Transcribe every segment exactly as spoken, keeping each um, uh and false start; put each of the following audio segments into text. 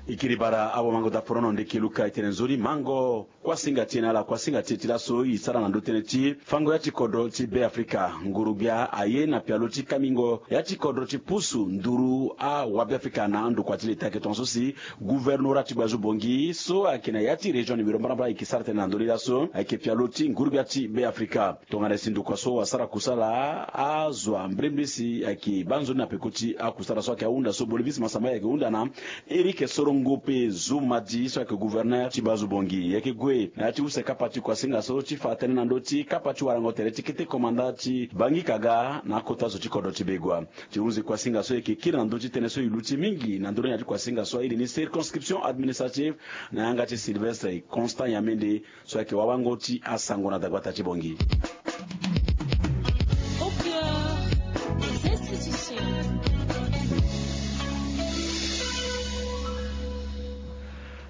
E kiri bara awamango daa forono ndeke luka e tene nzoni mango kuasinga ti e na ala kuasinga ti e ti laso e sara na ndö tënë ti fango ya ti kodro ti Be Afrika. Nguru-gbia aye na pialo ti kamingo ya ti kodro ti pusu nduru awabeafrika na andokua ti leta ayeke tongaso si guvernora ti Gbazubongi so ayeke na ya ti région numéro mbarambara ayeke sara tënë na ndö ni laso ayeke pialo ti nguru-gbia ti Be Afrika. Tongana si ndokua so asara kusala azo ambrembre si ayeke baa nzoni na peko ti akusala so ayeke ahunda so Bolivisi Masamba ayeke hunda na Éric Sorongope Zumadi so ayeke gouverneur ti Gbazubongi. E yeke gue na ya ti use kapa ti kuasinga so ti fa tënë na ndö ti kapa ti warango tere ti kete komanda ti Bangi Kaga na akota zo ti kodro ti Begua. Ti hunzi kuasinga so e yeke kiri na ndö ti tënë so e luti mingi na ndö ni na ya ti kuasinga so airi ni circonscription administrative na yanga ti Sylvestre Constant Yamende so ayeke wawango ti asango na dagbata ti Bongi.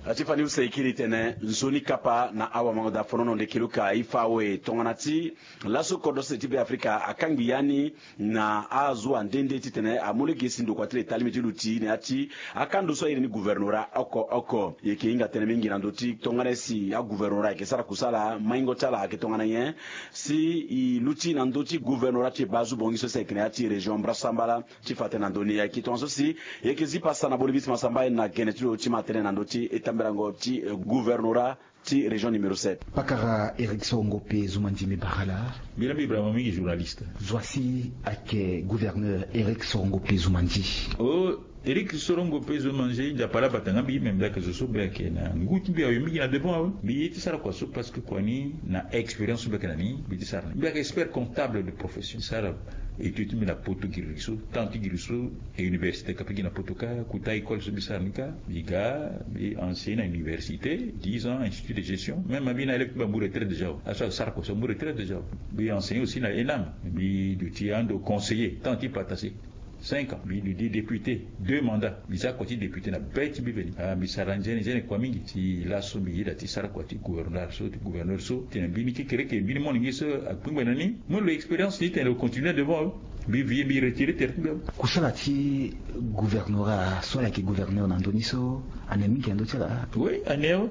Ati fani use e kiri tene nzoni kapa na awamango daa forono ndeke luka e fa awe tongana ti laso kodro sese ti Be Afrika akangbi ya ni na azo ande nde titene amu lege si ndokua ti leta alingbi ti luti na ya ti akando so airi ni guvernora oko oko. E yeke hinga tënë mingi na ndö ti tongana si aguvernora ayeke sara kusala maingo ti ala ayeke tongana nyen si e luti na ndö ti guvernora ti Gbazubongi so si ayeke na ya ti région mbarasambala. Ti fa tënë na ndö ni ayeke tongaso si e yeke zi pasa na Bolivisi Masamba na gene ti lo ti ma tënë na ndö ti etamberango ti guvernora ti région numéro sept. Pakara Éric Sorongope Zumandi, mbi bara ala. Mbi laa mbi bara mo mingi journaliste. Zo asi ayeke gouverneur Éric Sorongope Zumandi. O Éric Sorongope Zumandi, Nzapa laa abata nga mbi, me mbi ayeke zo so mbi ayeke na ngu ti mbi awe mingi na devant awe. Mbi ye ti sara kua so parce que kua ni na expérience so mbi ayeke na ni mbi ye ti sara ni. Mbi ayeke expert comptable de profession. Sara étude ti mbi na poto giri so, temps ti giri so, e université kape gi na poto kâ, kota école so mbi sara ni kâ, mbi ga mbi enseigné na université, dix ans, institut de gestion. Même mbi na élève ti mbi amu retraite déjà awe. Aso asara kua so amu retraite déjà awe. Mbi enseigné aussi na ENAM. Mbi duti ando conseiller temps ti patase cinq ans. Mbi duti député deux mandats. Mbi sara kua ti député na be ti mbi veni. Ah, mbi sara nzene nzene kua mingi. Si laso mbi yeda ti sara kua ti gouverneur so, ti gouverneur so, titene mbeni kekereke, mbeni molenge so akpengbe na ni, mo lo expérience ni titene lo continue devant. Mbi vie mbi retiré tere ti mbi awe. Kusala ti gouvernorat so ala yeke gouverneur na ndö ni so, ane mingi na ndö ti ala? Oui, ane awe.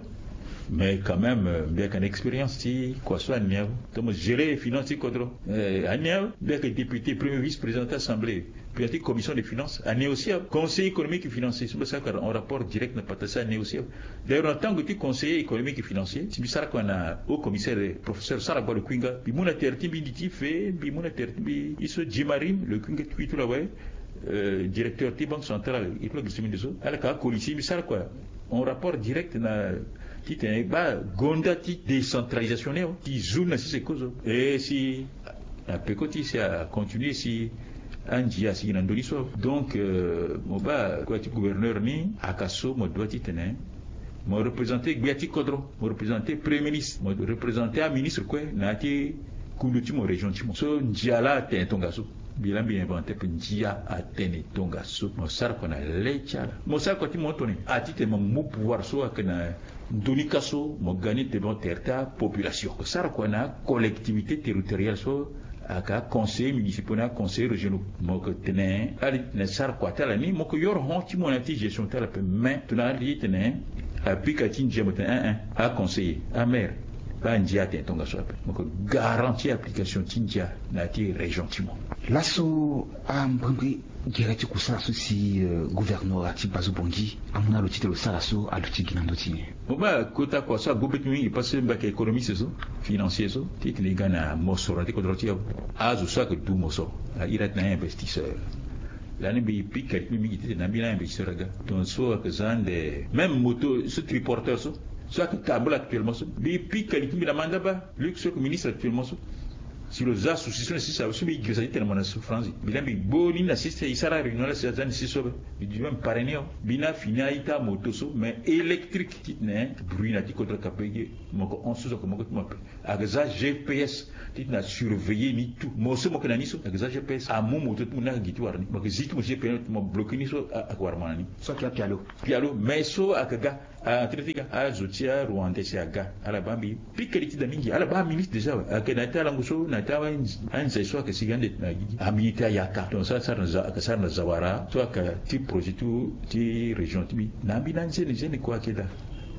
Mais quand même, euh, mbi yeke na expérience ti kua so ane awe. Comme gérer finance ti kodro, euh, ane awe. Mbi yeke député, premier vice président ti assemblée, président ti commission de finance, ane aussi awe. Conseil économique et financier so mbi sara kua en rapport direct na patase, ane aussi awe. D'ailleurs na tango ti conseiller économique et financier, si mbi sara kua na haut commissaire, professeur Saragba Lokuinga, mbi mu na tere ti mbi, ndi ti fe mbi mu na tere ti mbi, ye so Jim Arim Lokuinga ti kuitu la awe, euh, directeur ti banque centrale, ye ti lo gi so mbi nde so ala ka akoli si mbi sara kua en rapport direct na titene e baa gonda ti décentralisation ni awe, ti zo ni na sese kozo. E si na peko ti si acontinué si andia asigi na ndö ni so. Donc, euh, mo baa kua ti gouverneur ni aka so mo doit titene mo représenté gbia ti kodro, mo représenté premier ministre, mo représenté aministre kue na ya ti kundu ti mo, région ti mo. So ndia laa atene tongaso. Mbi laa mbi inventé ape, ndia atene tongaso. Mo sara kua na le ti ala. Mo sara kua ti mo tongana nyen? A titene mo mu pouvoir so ayeke na ndö ni kâ so mo ga ni devant tere ti apopulation. Mo sara kua na acollectivité territoriale so ayeke aconseiller municipaux na aconseiller régionaux. Mo yeke tene ala titene sara kua ti ala ni, mo yeke yoro hon ti mo na ya ti gestion ti ala ape. Mais tongana ala titene apika ti ndia, mo tene ein ein, aconseiller, amaire, andia atene tongaso ape. Mo yeke garant ti application ti ndia na ya ti région ti mo. Laso ambrimbri gere ti kusala so si, euh, gouvernorat ti Gbazubongi amu na lo titene lo sara so aluti gi na ndö ti nyen? Mo baa kota kua so ague be ti mingi parce que mbi ayeke économiste so, financier so, titene e ga na mosoro na ya ti kodro ti e awe. Azo so ayeke du mosoro, a iri atene a-investisseur. Lani mbi pika li ti mbi mingi titene na mbi na investisseur aga. Donc so ayeke za ande même moto so triporteur so, so ayeke tambula actuellement so, mbi pika li ti mbi na manda baa. Luc so ayeke ministre actuellement so, si lo za souci so na sese awe so mbi girisa titene mo na souffrance. Mbi laa mbi gbo ni na sese, e sara réunion laa si aza ni sese so awe. Mbi duti même pare ni awe. Mbi na fini a-ita amoto so mais électrique titene bruit na ya ti kodro kape ge. Mo yeke hon so so ayeke moko ti mo ape. Ayeke za G P S titene asurveiller ni tout. Mo so mo yeke na ni so ayeke za G P S, amu moto ti mo ni ayeke gi ti wara ni. Mo yeke zi ti mo G P S, mo bloqué ni so ayeke wara mo na ni. So ayeke apialo. Pialo mais so ayeke ga. A, tere ti ga azo ti arwandais si aga, ala baa mbi pika li ti da mingi, ala baa ministre déjà awe. Ayeke na ya ti alango so na Tara anze so ayeke sigi ande na gigi ambeni ti ayaka donc so asara na zawara so ayeke ti projet ti région ti mbi na ambeni anzene zene kue ayeke daa.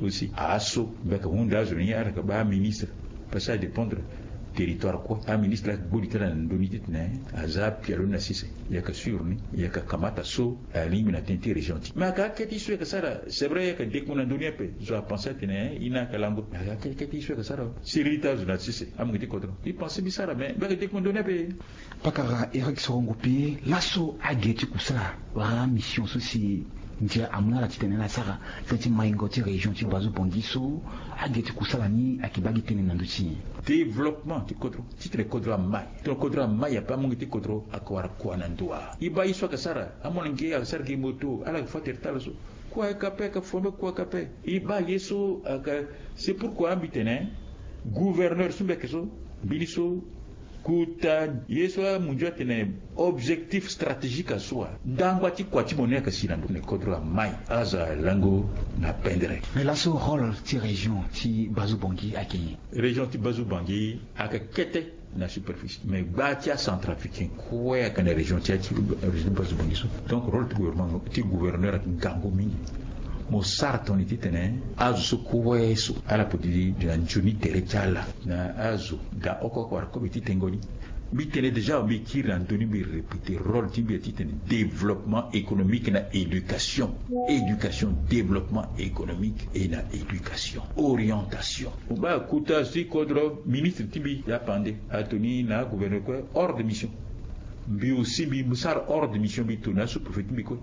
Aussi aso mbi yeke hunda azo ni ala yeke baa ministre. Parce que adépendre territoire kue aministre ayeke gbo li ti ala na ndoni titene aza apialo ni na sese. Yaka sûr ni yaka kamata so alingbi na tënë ti région ti mais aka akete ye so yaka sara. C'est vrai yaka dekmo na ndoni ape zo apense atene ye ni ayaka lango mais aka akete ye so yaka sara. Siriri ti azo na sese amonge ti kodro ye pense mbi sara mais mbi yaka dekmo na ndoni ape. Pakara Eric Sorongo pe laso age ti kusala wala mission so si ndia amu na ala titene ala sara tënë ti maingo ti région ti Bazu Bongi so age ti kusala ni ayeke baa gi tënë na ndö ti nyen? Développement ti kodro titene kodro amai titene kodro amai ape amonge ti kodro ayeke wara kua na ndo wa? E baa ye so ayeke sara amolenge ayeke sara gi moto ala yeke fa tere ti ala so kua ayeke ape ayeke fombe kua ayeke ape. E baa ye so ayeke c'est pourquoi mbi tene gouverneur so mbi yeke so mbeni so kota ye so amunzu atene objectif stratégique aso wa ndangba ti kua ti mo ni ayeke si na ndo na kodro amai azo alango na pendere. Mais laso rôle ti région ti Bazu Bongi ayeke nyen? Région ti Bazu Bongi ayeke kete na superficie mais gba ti acentrafricain kue ayeke na région ti région ti Bazu Bongi so. Donc rôle ti gouvernement ti gouverneur ayeke ngangu mingi. Mo sara toni titene azo so kue so ala poti di na nzoni tere ti ala na azo daa oko oko wara kobe ti tengo ni. Mbi tene déjà mbi kiri na ndö ni mbi répéter rôle ti mbi ya titene développement économique na éducation. Éducation développement économique et na éducation orientation. Mo baa kota azo ti kodro ministre ti mbi ya pande atoni na agouverneur kue hors de mission. Mbi aussi mbi sara hors de mission mbi toni na sous-préfet ti mbi kue.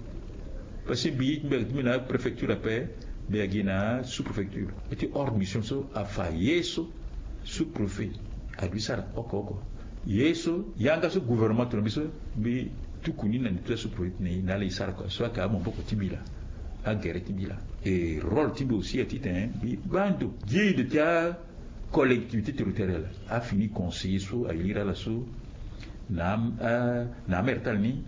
Parce que mbi ye ti mbi ayeke ti mbi na préfecture ape mbi yeke gi na sous-préfecture. Ti hors de mission so afa ye so sous-préfet aduti sara oko oko ye so yanga so gouvernement tongana mbi so mbi tuku ni na nde ti asous-préfet ti na ye na ala e sara kua so ayeke amaboko ti mbi laa. Agere ti mbi laa. E rôle ti mbi aussi ya titene mbi baa ndo guide ti acollectivité territoriale afini conseiller so aliri ala so na na amere ti ala ni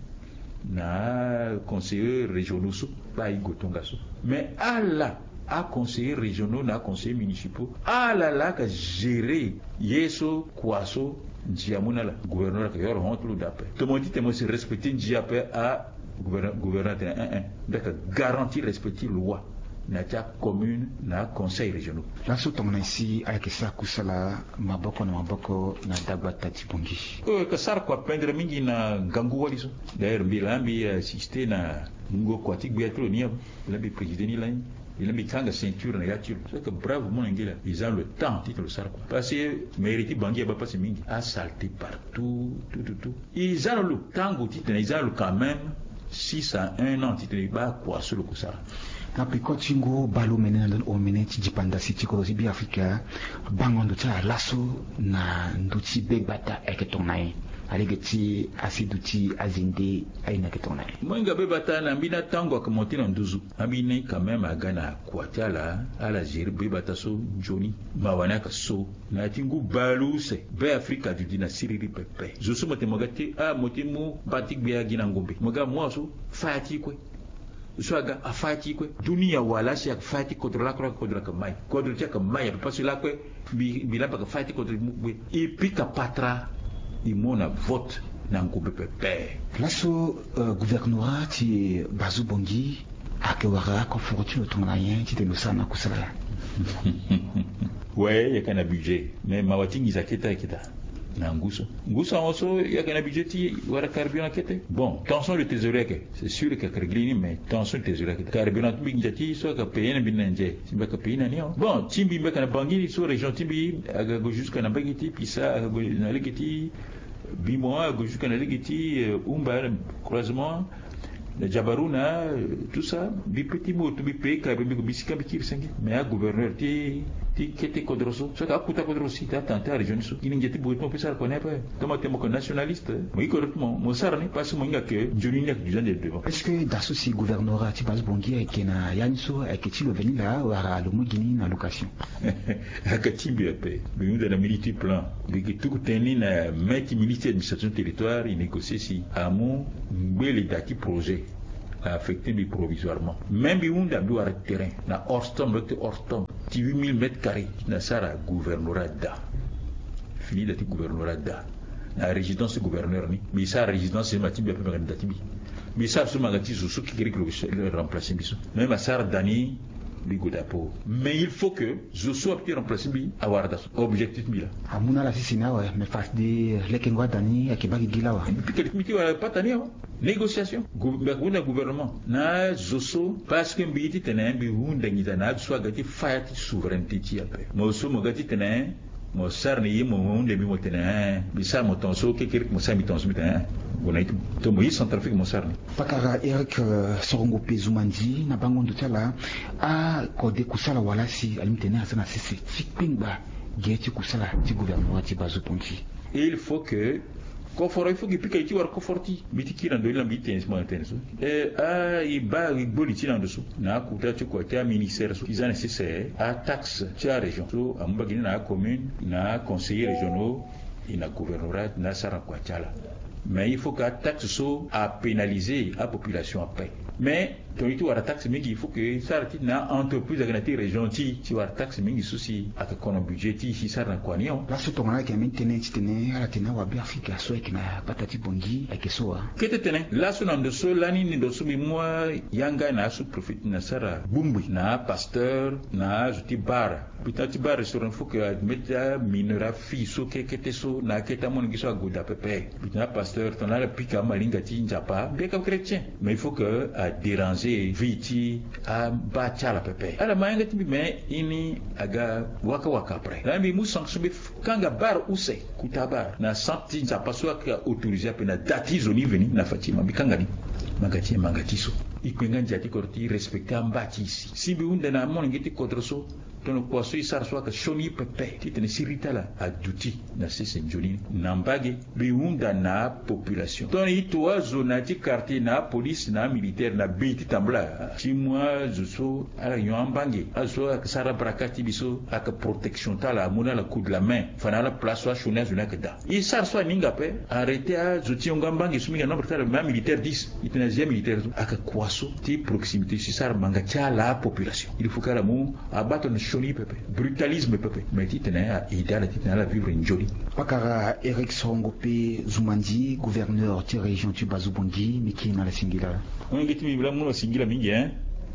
na aconseillers régionaux so baa e gue tongaso. Mais ala aconseillers régionaux na aconseillers municipaux ala laa ayeke gérer ye so kua so ndia amu na ala. Gouverneur ayeke yoro hon ti lo daa ape tomo titene mo si respecter ndia ape a gouverneur atene un un mbi ayeke garantir respect ti loi na ya ti acommune na aconseils régionaux. Laso tongana nyen si ayeke sara kusala maboko na maboko na dagbata ti Bongi? Oyo ayeke sara kua pendere mingi na ngangu wali so. D'ailleurs mbi laa mbi assiste na ngongo kua ti gbia ti lo ni ape. Mbi laa mbi président ni lani. Mbi laa mbi kanga ceinture na ya ti lo so ayeke brave molenge laa e za lo temps titene lo sara kua parce que mairie ti Bongi abaa pasi mingi asalté partout tout tout tout. E za na lo tango titene e za na lo quand même six à un an titene e baa kua so lo ko sara. Na peko ti ngu baleomene na ndoni omene ti dipanda si ti kodro ti Beafrika bango ndo ti ala laso na ndö ti begbata ayeke tongana nyen? Alege ti aseduti azende aye ni ayeke tongana nyen? Mo hinga begbata na mbeni atango ayeke monté na nduzu. Ambeni quand même aga na kua ti ala ala gérer begbata so nzoni. Mawa ni ayeke so na ya ti ngu baleuse Beafrika aduti na siriri pepe. Zo so mo tene mo ga ti ah mo ti mu baa ti gbia gi na ngombe mo ga mo aso faya ti kue. So aga afaya ti kue. Dunia wala si ayeke faya ti kodro lakue lakue kodro ayeke mai kodro ti ayeke mai ape parce que lakue mbi mbi laa mbi ayeke faya ti kodro mbi mu kue. E pika patara e mu na vote na ngombe pepe. Laso gouvernorat ti Bazu Bongi ayeke wara akoforo ti lo tongana nyen titene lo sara na kusala laa? We yeke na budget mais mawa ti nginza kete ayeke daa. Na ngu so ngu so ahon so yeke na budget ti wara carburant kete bon tension de trésorerie ayeke. C'est sûr yeke régler ni mais tension de trésorerie ayeke daa carburant ti mbi nginza ti so ayeke payer na mbi na nze si mbi ayeke payer na ni awa bon ti mbi mbi ayeke na bangi so région ti mbi aga go jusque na mbage ti pisa aga go na lege ti bimo aga go jusque na lege ti umba croisement na jabaruna tout ça mbi pe ti moto mbi pe kare mbi ko mbi sika mbi kiri senge mais agouverneur ti ti kete kodro so so ka akuta kodro si ta tante arégion ni so gi na ngia ti boye ti mo pe sara kone ape. Toma tene mo ko nationaliste mo yi kodro ti mo mo sara ni parce que mo hinga ke nzoni ni ayeke du zande devant. Est-ce que da so si gouvernorat ti Bazu Bongi ayeke na ya ni so ayeke ti lo veni laa wala lo mu gi ni na location? Aka ti mbi ape mbi hunda na mini ti plan mbi yeke tuku tënë ni na main ti ministre administration territoire e négocier si amu ngbele da ti projet a affecter mbi provisoirement mais mbi hunda mbi wara terrain na orstom lok ti orstom ti huit mille mètres carrés na sara gouvernorat da. Fini da ti gouvernorat da. na résidence ti gouverneur ni, mbi sara résidence ti mbi ape, mbi yeke na da ti mbi. Mbi sara so mbi yeke ti zo so kekereke lo remplacer mbi so, même asara da ni. Mbi gue da po, mais il faut que zo so ape ti remplacer mbi awara da so. Objectif ti mbi laa. Amu na ala sese ni awe, mais fade lekengo ada ni ayeke baa gigi laa awe. Mbi pika li ti mbi ti wara pata ni awe. Négociation. Mbi yeke hunda gouvernement na azo so, parce que mbi ye titene mbi hunda nginza na azo so aga ti fa ya ti souveraineté ti e ape. Mo so mo ga titene mo sara na ye, mo hunda mbi mo tene, eh, mbi sara mo tongaso, kekereke mo sara mbi tongaso, mbi tene, eh, gue na ye ti mo to mo ye Centrafrique mo sara ni. Pakara Eric, eh, Sorongo Pezumandi, na bango ndo ti ala, akode kusala wala si alingbi tene aza na sese ti kpengba ge ti kusala ti gouvernement ti Bazopongi. Il faut que koforo, il faut que pika ye ti wara koforo ti mbi ti kiri na ndo ni laa mbi ti tene si mo tene so. E, a, e baa e gbo li ti na ndo so na akota ti kua ti aministère so ti za na sese ataxe ti arégion so amu mbage ni na acommune, na aconseiller régionaux, e na gouvernorat na asara na kua ti ala. Mais il faut que ataxe so apénaliser apopulation ape. Mais tongana e ti wara taxe mingi, il faut que e sara ti na entreprise ayeke na ti région ti e ti wara taxe mingi so si ayeke kono budget ti e si e sara na kua ni o. Laso tongana ayeke ambeni tënë titene ala tene awabe Afrika so ayeke na gbata ti Bangui ayeke so wa? Kete tene laso na ndo so lani ni, ndo so mbi mu ayanga na asous-préfet ti na sara bongbi na apasteur na azo ti bar. Mbi tena ti bar restaurant, il faut que ameti amineur afi so kekete so na akete amolenge so ague daa pepe. Mbi tena apasteur tongana ala pika amalinga ti Nzapa, mbi yeke chrétien, mais il faut que adéranger vie ti aba ti ala pepe. Ala ma yanga ti mbi, mais e ni aga waka waka après. Lani mbi mu sanction, mbi kanga bar use, kota bar na centre ti Nzapa so ayeke autoriser ape na da ti zo ni veni na Fatima, mbi kanga ni. Manga ti e, manga ti so. E kpe nga ndia ti kodro ti e respecter amba ti e si. Si mbi hunda na amolenge ti kodro so, tongana kua so e sara so ayeke sioni e pepe titene siriri ti ala aduti na sese nzoni ni. Na mbage, mbi hunda na apopulation. Tongana e to azo na ya ti quartier na apolice na amilitaire na bei ti tambula ti mu azo so ala nyon ambange, azo so ayeke sara baraka ti mbi so ayeke protection ti ala, amu na ala coup de la main, fa na ala place so asioni azo ni ayeke daa. E sara so aninga ape, arrêter azo ti yongo ambange so mingi na nombre ti ala, mais amilitaire dix. E tene azi amilitaire so ayeke kua so ti proximité so e sara manga ti ala apopulation. Il faut que ala mu abaa tongana sioni pepe, brutalisme pepe, mais titene a aider ala titene ala vivre nzoni. Pakara Eric Sorongo Pe Zumandi, gouverneur ti région ti Bazobangi, mbi kiri na ala singila. Molenge ti mbi, mbi laa mu na singila mingi, hein.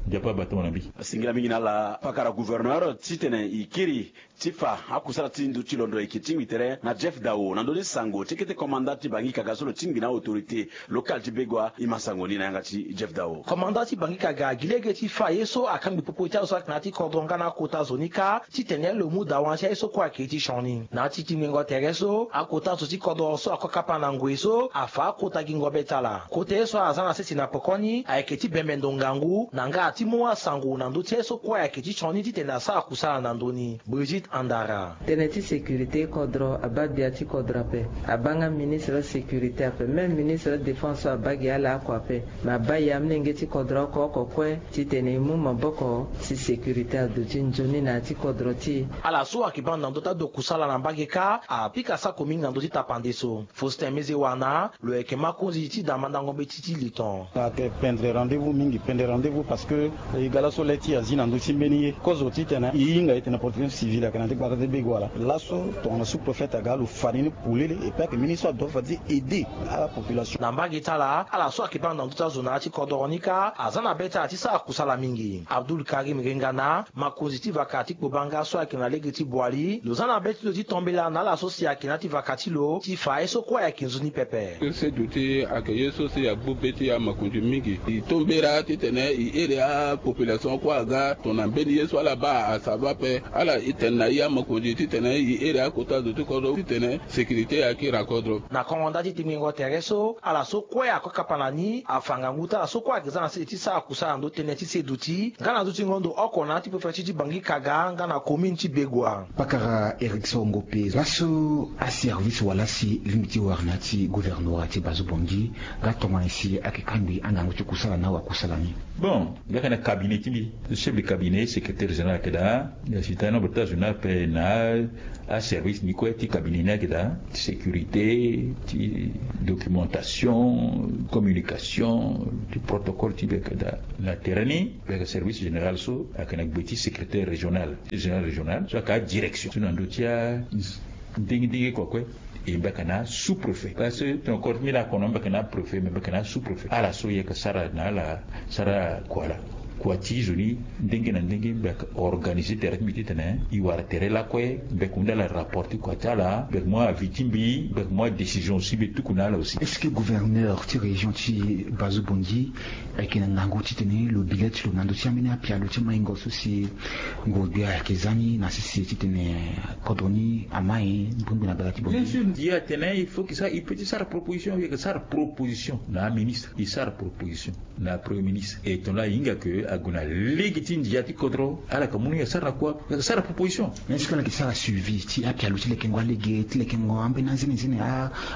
Nzapa abaa tama na mbi. Singila mingi na ala pakara gouverneur titene e kiri ti fa akusala ti ndo ti londo ayeke tingbi tere na Jeff Dao na ndö ni sango ti kete commandant ti Bangui Kaga so lo tingbi na autorité locale ti Begoua. E ma sango ni na yanga ti Jeff Dao. Commandant ti Bangui Kaga gi lege ti fa aye so akangbi popo ti azo so ayeke na ya ti kodro nga na akota zo ni kâ, titene lo mu dawa na ti aye so kue ayeke ti sioni. Na ya ti tingbingo tere so, akota zo ti kodro so ako kapa na ngoi so afa akota gingo be ti ala. Kota ye so aza na sese na pekoni ayeke ti bembe ndo ngangu na nga ti mu asango na ndö ti aye so kue ayeke ti sioni titene asara kusala na ndö ni. Brigitte Andara. Tënë ti sécurité kodro abaa gbia ti kodro ape. Abaa nga ministre sécurité ape. Même ministre défense so abaa gi ala oko ape. Me abaa e amolenge ti kodro oko oko kue titene e mu maboko si sécurité aduti nzoni na ya ti kodro ti e. Ala so ayeke baa na ndö ti ado kusala na mbage kâ apika sako mingi na ndö ti tapande so. Faustin Mezewana, lo yeke makonzi ti da mandango mbeti ti li ton. Ayeke pendre rendez-vous mingi, pendre rendez-vous parce que e ga laso le ti e azi na ndö ti mbeni ye. Kozo titene e hinga e tene protection civile ayeke na ya ti gbata ti Begoua laa. Laso tongana sous-préfet aga lo fa ni ni polele, et puis ayeke mbeni so adoit fa ti aider ala population. Na mbage ti ala, ala so ayeke baa na ndö ti azo na ya ti kodoro ni kâ aza na be ti ala ti sara kusala mingi. Abdoul Karim Rengana, makonzi ti vaka ti Kpobanga so ayeke na lege ti Boali, lo za na be ti lo ti tombela na ala so si ayeke na ya ti vaka ti lo ti fa ye so kue ayeke nzoni pepe. Seduti ayeke ye so si agbu be ti amakonzi mingi. E tombela titene e iri apopulation kue aga tongana mbeni ye so ala baa asava ape. Ala e tene na e amakonzi titene e iri akota zo ti kodro titene sécurité ayeke iri na kodro. Na kongo nda ti tingbingo tere so, ala so kue ako kapa na ni afa ngangu ti ala so kue ayeke za na sese ti sara kusala na ndö ti tënë ti seduti nga na ndö ti ngondo oko na ya ti préfecture ti Bangui Kaga nga na commune ti Begoua. Pakara Eric Songo Pe, laso aservice wala si lingbi ti wara na ya ti gouvernorat ti Bazobangi nga tongana si ayeke kangbi angangu ti kusala na awakusala ni? Bon, nga yeke na cabinet ti mbi, chef de cabinet, secrétaire général ayeke daa. Ya si tana nombre ti azo ni ape na aservice ni kue ti cabinet ni ayeke daa, ti sécurité, ti documentation, communication, ti protocole ti mbi ayeke daa. Na tere ni mbi yeke service général so ayeke na gbe ti secrétaire régional, ti général régional so ayeke adirection so na ndö ti a ndenge ndenge kua kue. E mbi yaka na sous-préfet parce que tongana koro ti mbi na kono mbi yaka na préfet me mbi yaka na sous-préfet ala so e yaka sara na ala. Sara kua laa kua ti zo ni ndenge na ndenge mbi yaka organiser tere ti mbi titene e wara tere lakue mbi yaka hunda ala rapport ti kua ti ala mbi yaka mu avis ti mbi mbi yaka mu adécision aussi mbi tuku na ala aussi. Est-ce que gouverneur ti région ti Bazo Bongi ayeke na ngangu titene lo bi le ti lo na ndö ti ambeni apialo ti maingo so si nguru gbia ayeke za ni na sese titene kodro ni ama ye mbongbi na bala ti bongi? Ye atene il faut ke sa e pe ti sara proposition e yeke sara proposition na aministre e sara proposition na premier ministre e tongana ahinga ke ague na lege ti ndia ti kodro ala ka mu ni asara na kua? Ala ka sara proposition. Mais est-ce que ala yeke sara suivi ti apialo ti lekengo alege ti lekengo ambeni anzenenzene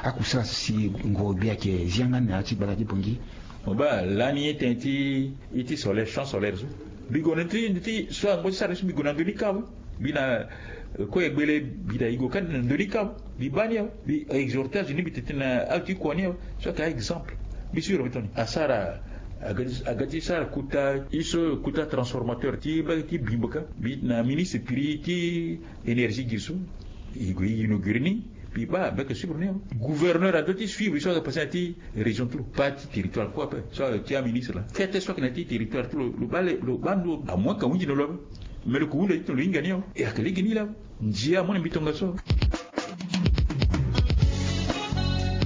akusala so si nguru gbia ayeke zi yanga ni na ya ti gbala ti bongi? Mo baa lani ye tënë ti ye ti solaire champ solaire so mbi gue na ndö ti so ango ti sara ni so mbi gue na ndö ni kâ awe. Mbi na kue gbele mbi na e gue kâ na ndö ni kâ awe. Mbi baa ni awe mbi exhorter azo ni mbi tene tënë na azo ti kua ni awe. So ayeke a-exemple mbi sure mbi tongana asara aga ti sara kuta ye so kuta transformateur ti mbage ti bimbo kâ mbi na ministre prix ti énergie gi so e gue e inaugure ni. Mbi baa mbi yeke suivre ni awe gouverneur adoit ti suivre ye so ayeke passe na ya ti région ti lo pas ti territoire kue ape so ayeke ti aministre laa kete so ayeke na ya ti territoire ti lo lo baa le lo baa ndo amoin ka hunzi na lo ape. Mais lo ke hunda titene lo hinga ni awe e ayeke lege ni laa. Ndia amoin na mbi tongaso.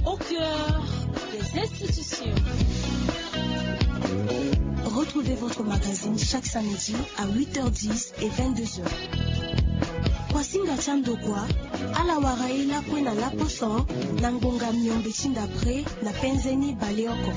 Au cœur des institutions. Retrouvez votre magazine chaque samedi à huit heures dix et vingt-deux heures. Kuasinga ti andokua ala wara ye lakue na laposo na ngonga miombe ti ndapre na penze ni baleoko.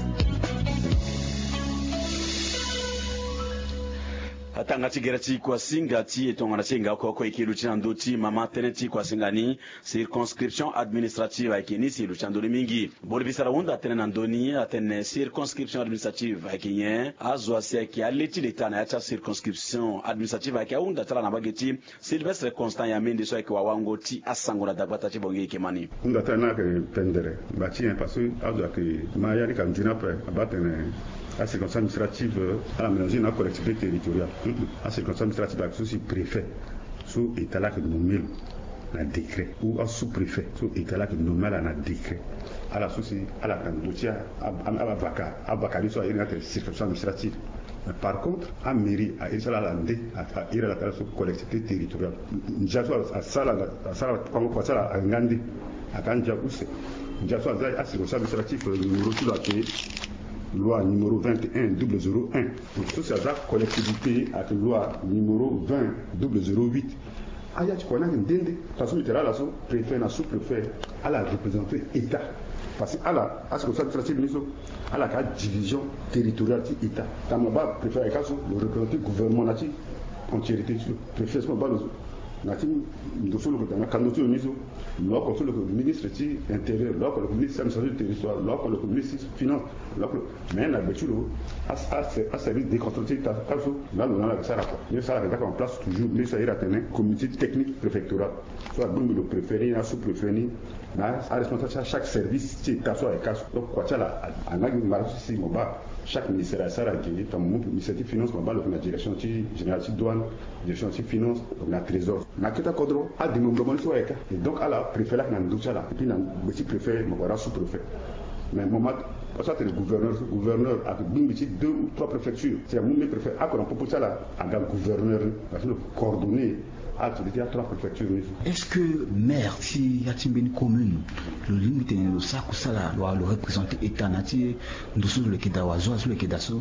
Atanga ti gere ti kuasinga ti e tongana ti e nga oko oko e ke luti na ndö ti mama tënë ti kuasinga ni. Circonscription administrative ayeke ni si e luti na ndö ni mingi. Bolibi sara hunda tënë na ndö ni atene circonscription administrative ayeke nyen? Azo asi ayeke ale ti leta na ya ti acirconscription administrative ayeke ahunda ti ala na mbage ti Sylvestre Constant Yamende so ayeke wawango ti asango na dagbata ti bongi e yeke ma ni. Hunda ti ala ni ayeke pendere mba ti nyen parce que azo ayeke ma ya ni ka nzoni ape. Abaa atene acirconstance administrative ala mélange na acollectivité territoriale. Acirconstance administrative ayeke so si préfet so état laa ayeke nommé lo na décret ou asous-préfet so état laa ayeke nommé ala na décret. Ala so si ala yeke na ndö ti avaka avaka ni so airi ni atene circonstance administrative. Mais par contre amairie airi ti ala ala nde airi ala tala so collectivité territoriale. Ndia so asara asara kua ti ala ayeke nga nde ayeke andia use. Ndia so aza acirconstance administrative numéro ti lo ayeke loi numéro vingt et un double zéro un. So si aza collectivité ayeke loi numéro vingt double zéro huit. Aya ti kua ni ayeke nde nde. Taa so mbi tene ala so préfet na sous-préfet ala représenter état. Parce que ala acirconstance administrative ni so ala yeke adivision territoriale ti état. Tama baa préfet ayeke aso lo représenter gouvernement na ti entiérité ti lo. Préfet so mo baa lo so na ti ndo so lo yeke daa na kando ti lo ni so. Lo oko so lo yeke ministre ti intérieur lo oko lo yeke ministre ti administration du territoire lo oko lo yeke ministre ti finance. Lo oko lo mais na gbe ti lo aservice déconcentré ti état so laa lo na ala yeke sara kua. Ni so ala yeke za kua na place toujours ni so airi atene comité technique préfectoral so agbongbi lo préfet ni na asous-préfet ni na aresponsable ti achaque service ti état so ayeke aso. Donc kua ti ala anga gi mara so si mo baa chaque ministère asara gi tongana mo mu ministère ti finance mo baa lo yeke na direction ti générale ti douane, direction ti finance, na trésor. Na kete akodro ademembrement ni so ayeke et donc ala préfet laa ayeke na ndö ti ala et puis na gbe ti préfet mo wara sous-préfet. Mais mo ma so atene gouverneur so gouverneur ayeke gbingbi ti deux ou trois préfecture si amu mbeni préfet ako na popo ti ala aga gouverneur ni. Parce que lo coordonner activité ya trois préfecture ni so. Est-ce que maire ti ya ti mbeni commune lo lingbi tene lo sara kusala lo wara lo représenter état na ya ti ndo so lo yeke daa wala zo azo so lo yeke daa so?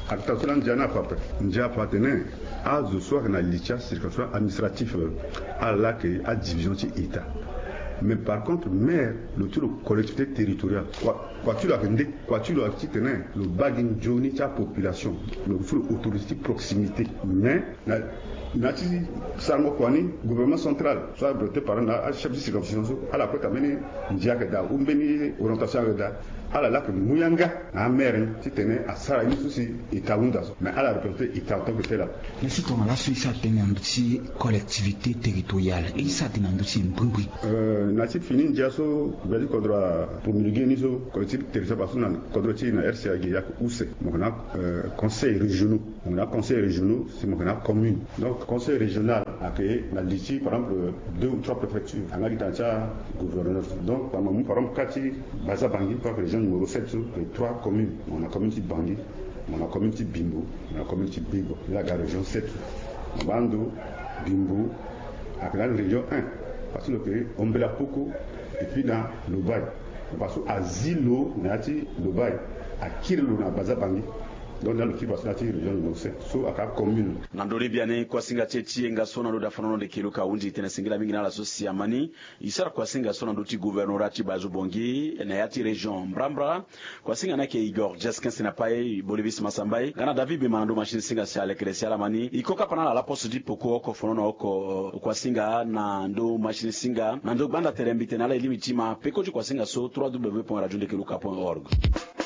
Ata so laa ndia ni afa ape. Ndia afa atene azo so ayeke na li ti acirconstance administrative ala laa ayeke adivision ti état. Mais par contre maire lo ti lo collectivité territoriale kua ti lo ayeke nde? Kua ti lo ayeke titene lo baa gi nzoni ti apopulation. Lo so lo autorité ti proximité mais na ya ti sarango kua ni gouvernement central so abreprésenté par na achef ti circonscription so ala kue ka mbeni ndia ayeke daa ou mbeni orientation ayeke daa. Ala laa ayeke mu yanga na amaire ni titene asara ye ni so si état ahunda so mais ala représenter état en tant que tel ape. Mais si tongana laso e sara tënë na ndö ti collectivité territoriale e sara tënë na ndö ti e mbrimbri? Na ya ti fini ndia so gbia ti kodro apromulgué ni so collectivité territoriale parce que na kodro ti e na rca gi ayeke use mo yeke na conseil régionaux. Mo na conseil régionaux si mo yeke na commune. Donc conseil régional ayeke na li ti par exemple deux ou trois préfectures, anga gi tanga ti agouverneur. Donc mo mu par exemple ka ti Baza Bangi, par région numéro sept so, ayeke trois communes. Mo na commune ti Bangi, mo na commune ti Bimbo, mo na commune ti Bego. Ni la ga région sept. Mo baa ndo Bimbo ayeke na région un, parce que lo yeke Ombela Poko et puis na Lobaye. Parce que azi lo na ya ti Lobaye, akiri lo na Baza Bangi. Donc na lo kiri parce que na ya ti région numéro sept so ayeke commune. Na ndö ni biani kuasinga ti e ti yenga so na ndö daa fanono leke luka ahunzi tene singila mingi na ala so si amani e sara kuasinga so na ndö ti gouvernorat ti Baza Bangi na ya ti région mbrambra. Kuasinga ni ayeke Igor Jeskens na pai, Bolivis Masambai nga na David Bema na ndö machine singa si alekere si ala mani e ko kapa na ala laposte ti poko oko fanono oko kuasinga na ndö machine singa na ndö gbanda tere mbi tene na ala e lingbi ti ma peko ti kuasinga so trois w point radio ndeke luka point org.